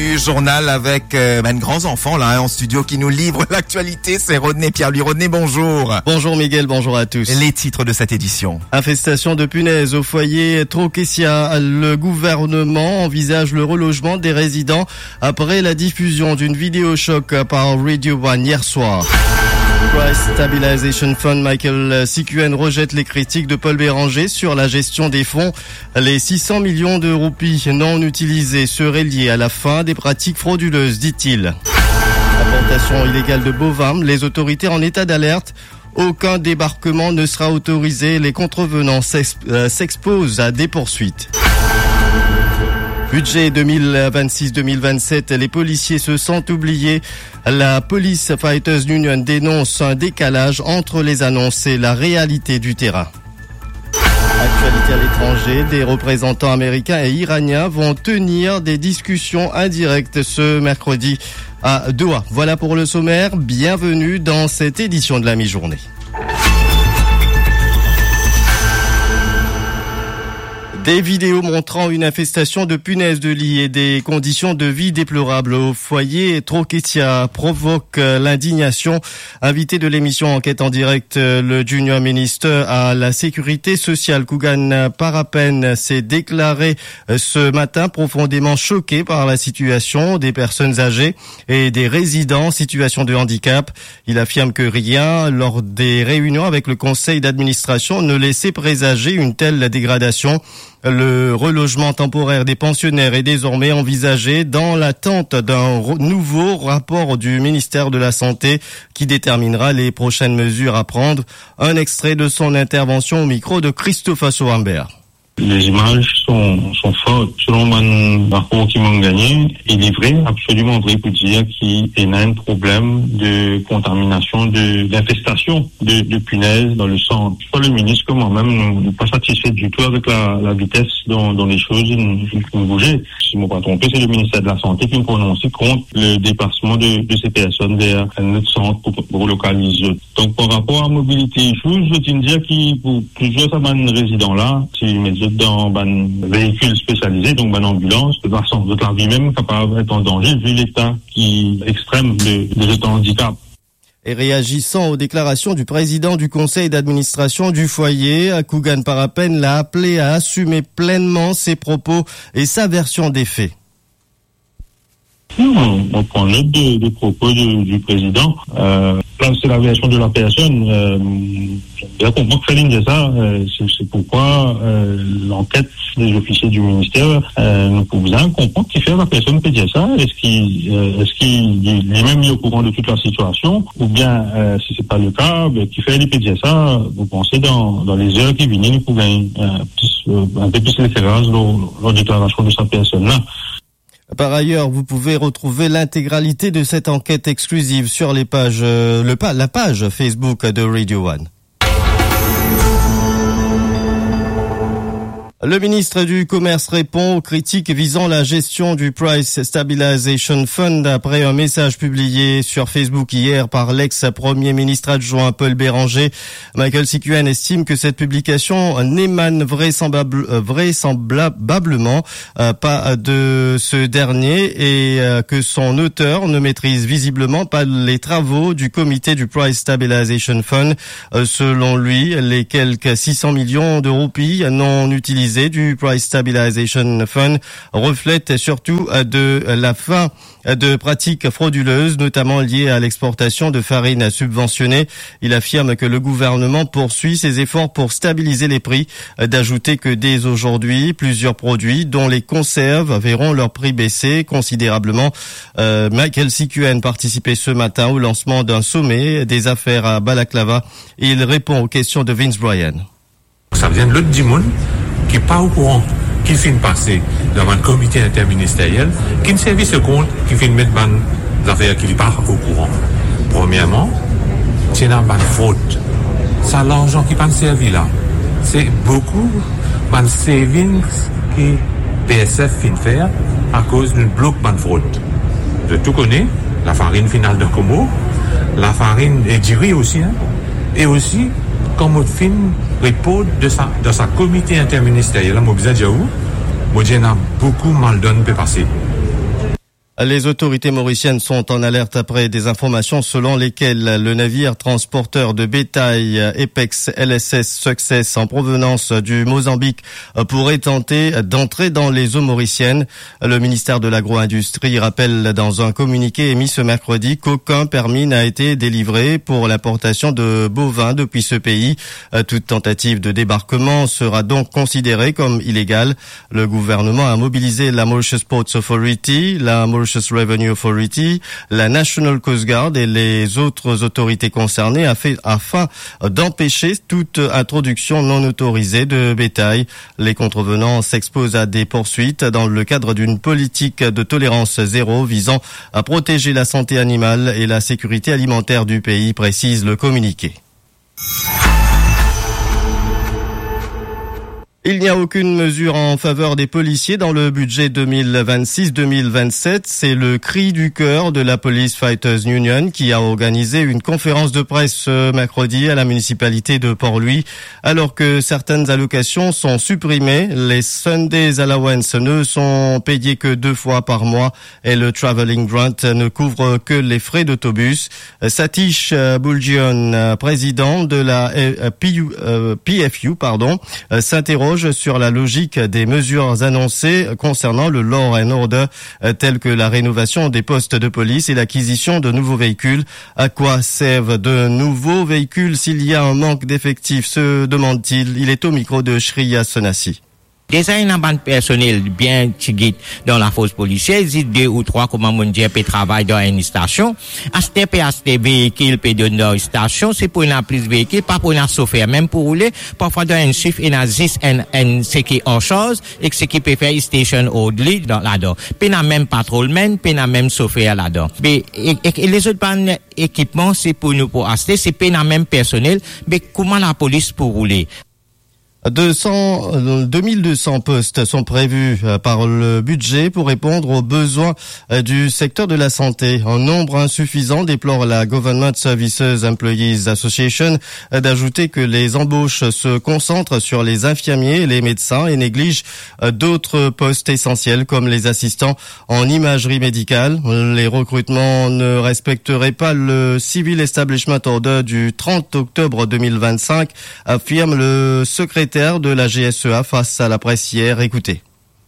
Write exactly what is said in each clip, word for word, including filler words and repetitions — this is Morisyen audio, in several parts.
Du journal avec euh, ben, grands enfants là hein, en studio qui nous livre l'actualité, c'est Rodney Pierre-Louis. Rodney, bonjour. Bonjour Miguel, bonjour à tous. Les titres de cette édition. Infestation de punaises au foyer Troquesia. Le gouvernement envisage le relogement des résidents après la diffusion d'une vidéo choc par Radio One hier soir. Price Stabilization Fund, Michael Sikuen rejette les critiques de Paul Bérenger sur la gestion des fonds. Les six cents millions de roupies non utilisées seraient liées à la fin des pratiques frauduleuses, dit-il. Importation illégale de bovin, les autorités en état d'alerte. Aucun débarquement ne sera autorisé. Les contrevenants s'ex- euh, s'exposent à des poursuites. Budget deux mille vingt-six deux mille vingt-sept, les policiers se sentent oubliés. La Police Fighters Union dénonce un décalage entre les annonces et la réalité du terrain. Actualité à l'étranger, des représentants américains et iraniens vont tenir des discussions indirectes ce mercredi à Doha. Voilà pour le sommaire. Bienvenue dans cette édition de la mi-journée. Des vidéos montrant une infestation de punaises de lit et des conditions de vie déplorables au foyer Troquesia provoquent euh, l'indignation. Invité de l'émission Enquête en direct, euh, le junior ministre à la sécurité sociale, Kugan Parapen, s'est déclaré euh, ce matin profondément choqué par la situation des personnes âgées et des résidents en situation de handicap. Il affirme que rien, lors des réunions avec le conseil d'administration, ne laissait présager une telle dégradation. Le relogement temporaire des pensionnaires est désormais envisagé dans l'attente d'un re- nouveau rapport du ministère de la Santé qui déterminera les prochaines mesures à prendre. Un extrait de son intervention au micro de Christophe Soambert. Les images sont, sont fortes. Selon bann rapor ki mo'nn gagne, il est vrai, absolument vrai pour dire qu'il y a un problème de contamination, de, d'infestation de, de punaises dans le centre. Soit le ministre comme moi-même, nous, nous pas satisfaits du tout avec la, la vitesse dont, dont les choses ont, ont bougé. Si je ne me trompe pas, c'est le ministère de la Santé qui a prononcé contre le déplacement de, de ces personnes vers un autre centre pour, pour localiser. Donk, par rapor a mobilité issues, zot inn dir ki pou plizier sa bann rezidan la, si met zot dan bann veikil spesialize, donk bann anbilans, zot lavi mem kapav et an danze, vi leta ki extrem de, de zot andikap. Et réagissant aux déclarations du président du conseil d'administration du foyer, Kugan Parapen l'a appelé à assumer pleinement ses propos et sa version des faits. Non, on prend note des, des propos du, du président. Euh, là, c'est la version de la personne. Euh, je comprends que Céline dit ça. Euh, c'est, c'est pourquoi euh, l'enquête des officiers du ministère, euh, nous pouvons bien comprendre qui fait la personne peut dire ça. Est-ce qu'il euh, est-ce qu'il est lui-même est au courant de toute la situation? Ou bien, euh, si c'est pas le cas, ben, qui fait il peut dire ça? Vous pensez dans, dans les heures qui viennent, nous pouvons gagner euh, plus, euh, un peu plus d'éclairage dans la déclaration de sa personne-là. Par ailleurs, vous pouvez retrouver l'intégralité de cette enquête exclusive sur les pages, euh, le pa- la page Facebook de Radio One. Le ministre du Commerce répond aux critiques visant la gestion du Price Stabilization Fund après un message publié sur Facebook hier par l'ex-premier ministre adjoint Paul Bérenger. Michael Sikuen estime que cette publication n'émane vraisemblable- euh, vraisemblablement euh, pas de ce dernier et euh, que son auteur ne maîtrise visiblement pas les travaux du comité du Price Stabilization Fund. Euh, selon lui, les quelques six cents millions de roupies non utilisées du Price Stabilization Fund reflètent surtout euh, de la fin de pratiques frauduleuses, notamment liées à l'exportation de farine subventionnée. Il affirme que le gouvernement poursuit ses efforts pour stabiliser les prix. D'ajouter que dès aujourd'hui, plusieurs produits, dont les conserves, verront leur prix baisser considérablement. Euh, Michael Sikuen participait ce matin au lancement d'un sommet des affaires à Balaclava. Il répond aux questions de Vince Bryan. Sa bizin lot dimoun ki pa okouran ki finn pase dan bann komite interministeriel, ki servi so kont, ki finn met bann zafer ki li pa okouran. Premierman, ti ena bann frod. Sa larzan ki pa'nn servi la, se boukou bann savings ki P S F finn fer akoz nou blok bann frod. Zot tou kone, lafarinn finn al dan Komor, lafarinn e diri osi, hein. E osi, kan mo finn report de sa, dan sa komite interministeriel la, mo bizin dir ou, mo dir ena boukou maldonn pe pase. Les autorités mauriciennes sont en alerte après des informations selon lesquelles le navire transporteur de bétail Apex L S S Success en provenance du Mozambique pourrait tenter d'entrer dans les eaux mauriciennes. Le ministère de l'Agro-industrie rappelle dans un communiqué émis ce mercredi qu'aucun permis n'a été délivré pour l'importation de bovins depuis ce pays. Toute tentative de débarquement sera donc considérée comme illégale. Le gouvernement a mobilisé la Mauritius Ports Authority, la Mauritius Revenue Authority, la National Coast Guard et les autres autorités concernées afin, afin d'empêcher toute introduction non autorisée de bétail. Les contrevenants s'exposent à des poursuites dans le cadre d'une politique de tolérance zéro visant à protéger la santé animale et la sécurité alimentaire du pays, précise le communiqué. Il n'y a aucune mesure en faveur des policiers dans le budget deux mille vingt-six deux mille vingt-sept. C'est le cri du cœur de la Police Fighters Union qui a organisé une conférence de presse ce mercredi à la municipalité de Port-Louis. Alors que certaines allocations sont supprimées, les Sundays Allowance ne sont payés que deux fois par mois et le Travelling Grant ne couvre que les frais d'autobus. Satish, euh, Buljian, euh, président de la, euh, P U, euh, P F U, pardon, euh, s'interroge sur la logique des mesures annoncées concernant le law and order, euh, telles que la rénovation des postes de police et l'acquisition de nouveaux véhicules. À quoi servent de nouveaux véhicules s'il y a un manque d'effectifs, se demande-t-il. Il est au micro de Shreya Sonasi. Deza ena bann personel bien tigit dan lafors polisier, zis de ou trwa, kouma mo dir, pe travay dan enn stasion. Aster pe aste veikil, pe donn dan stasion, se pou ena plis veikil, pa pou ena sofer mem pou roule. Parfwa dan enn shift ena zis enn, enn seki an sarz ek seki pe fer station orderly dan, ladan. Pena mem patrolman, pena mem sofer ladan. Be, e, e, e lezot bann ekipman, se pou nou pou aste, se pena mem personel, be kouma lapolis pou roule? Deux cents, euh, deux mille deux cents postes sont prévus, euh, par le budget pour répondre aux besoins, euh, du secteur de la santé. Un nombre insuffisant, déplore la Government Services Employees Association, euh, d'ajouter que les embauches se concentrent sur les infirmiers et les médecins et négligent, euh, d'autres postes essentiels comme les assistants en imagerie médicale. Les recrutements ne respecteraient pas le Civil Establishment Order du trente octobre deux mille vingt-cinq, affirme le secrétaire de la G S E A face à la presse hier. Écoutez.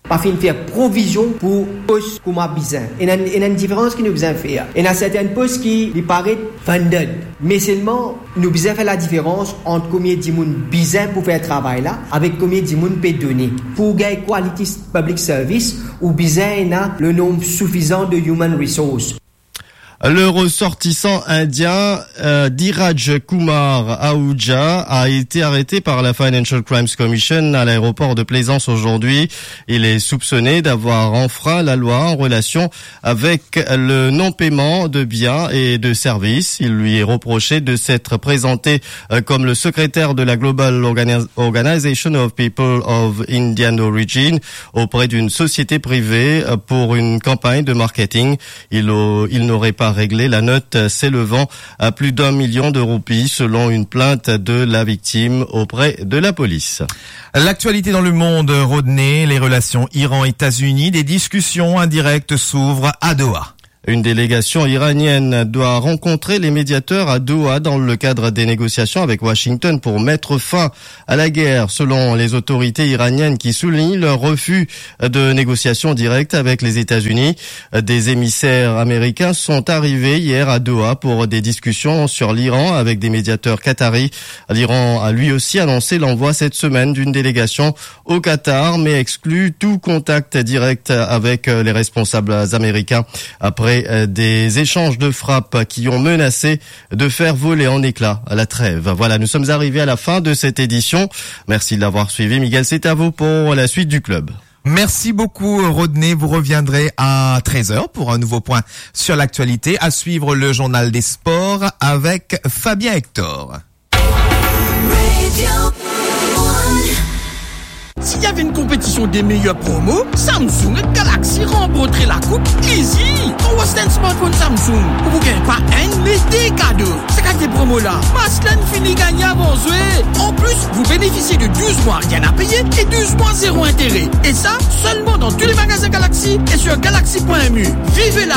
Pa finn fer provizion pou pos kouma bizin. Ena, ena enn diferans ki nou bizin fer. Ena sertin pos ki li paret funded, me selman nou bizin fer ladiferans ant komie dimoun bizin pou fer travay la avek komie dimoun pe done. Pou gagn quality public service, ou bizin ena le nonb soufizan de human resource. Le ressortissant indien, euh, Dhiraj Kumar Ahuja a été arrêté par la Financial Crimes Commission à l'aéroport de Plaisance aujourd'hui. Il est soupçonné d'avoir enfreint la loi en relation avec le non-paiement de biens et de services. Il lui est reproché de s'être présenté, euh, comme le secrétaire de la Global Organi-, Organization of People of Indian Origin auprès d'une société privée, euh, pour une campagne de marketing. Il au-, il n'aurait pas réglé la note s'élevant à plus d'un million de roupies, selon une plainte de la victime auprès de la police. L'actualité dans le monde, Rodney, les relations Iran-États-Unis, des discussions indirectes s'ouvrent à Doha. Une délégation iranienne doit rencontrer les médiateurs à Doha dans le cadre des négociations avec Washington pour mettre fin à la guerre, selon les autorités iraniennes qui soulignent leur refus de négociations directes avec les États-Unis. Des émissaires américains sont arrivés hier à Doha pour des discussions sur l'Iran avec des médiateurs qataris. L'Iran a lui aussi annoncé l'envoi cette semaine d'une délégation au Qatar, mais exclut tout contact direct avec, euh, les responsables américains après, euh, des échanges de frappes qui ont menacé de faire voler en éclats la trêve. Voilà, nous sommes arrivés à la fin de cette édition. Merci de l'avoir suivi. Miguel, c'est à vous pour la suite du club. Merci beaucoup, Rodney. Vous reviendrez à treize heures pour un nouveau point sur l'actualité. À suivre le journal des sports avec Fabien Hector. Si ti ena enn konpetision de meyer promo, Samsung ek Galaxy ranportre lakoup, easy! Ou aste enn smartphone Samsung, ou pou gagn pa enn, me de kado. Sa kalite promo la, Maslin fini gagne avan zwe. En plus, vous bénéficiez de douze mois rien à payer et douze mois zéro intérêt. Et ça, seulement dans tous les magasins Galaxy et sur galaxy point M U. Vivez